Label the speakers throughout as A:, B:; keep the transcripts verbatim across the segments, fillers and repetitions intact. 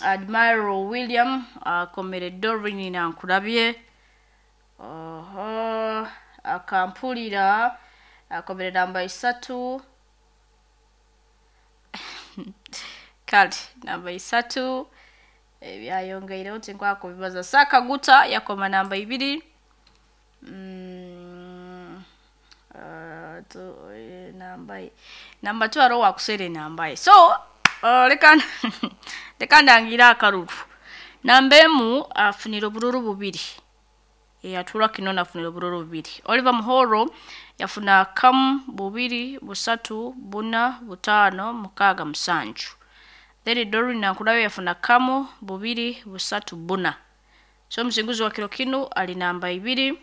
A: Admiral William akomere Doreen Nankulabye, oho akampulira akomere namba isatu. Kale namba isatu ebyayongeireho tinkwaka kubibaza. Sakaguta yakoma namba ibiri. mm, uh, tu, eh, namba namba two hariho wakusera enamba ye. So uh, leka leka ndangira akaruru. Namba emu afunire obururu bubiri, eyatula kino nafunire obururu bubiri. Oliver Muhoro yafuna kamu, bubiri, busatu, buna, butaano, mukaaga, musanju. Then Doreen Nankulayo yafuna kamu, bubiri, busatu, buna. So omusinguzi wa kiro kinu ali namba ibiri,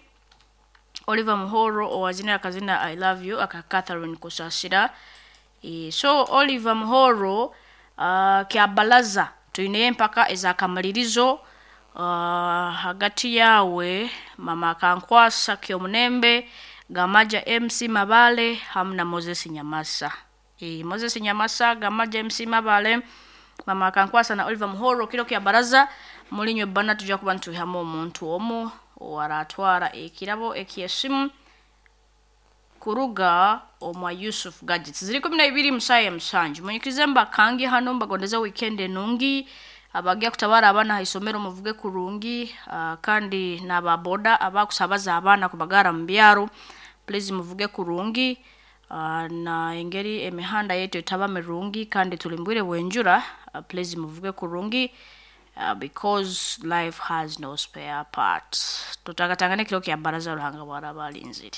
A: Oliver Muhoro, owazina akazina "I Love You" aka Catherine Kusasira. e, so Oliver Muhoro, uh, kyabalaza tuineyo empaka ezakamalirizo uh, hagati yawe, mama Akankwasa Kyomunembe, Gamaja M C Mabale hamu na Moses Nyamasa. e, Moses Nyamasa, Gamaja M C Mabale, mama Akankwasa na Oliver Muhoro. Kiro kya baraza mulinywe bana tujja kuba nituihamu omuntu omu owaratwara ekirabo ekyesimu kuruga omwa Yusuf Gadgets. Ziri kumi na ibiri musaaya ya musanju. Munyikirize mbakangi hano, mbagondeze weekend enungi. Abagya kutabara abaana ha isomero, muvuge kurungi. uh, kandi n'ababoda abakusabaza abaana kubagara mu byaro, please muvuge kurungi. uh, na engeri emihanda yetu etaba mirungi kandi tuli mbwire bwenjura, uh, please muvuge kurungi, uh, because life has no spare parts. Tutagatangane kiro kya baraza, Ruhanga bwaraba alinzire.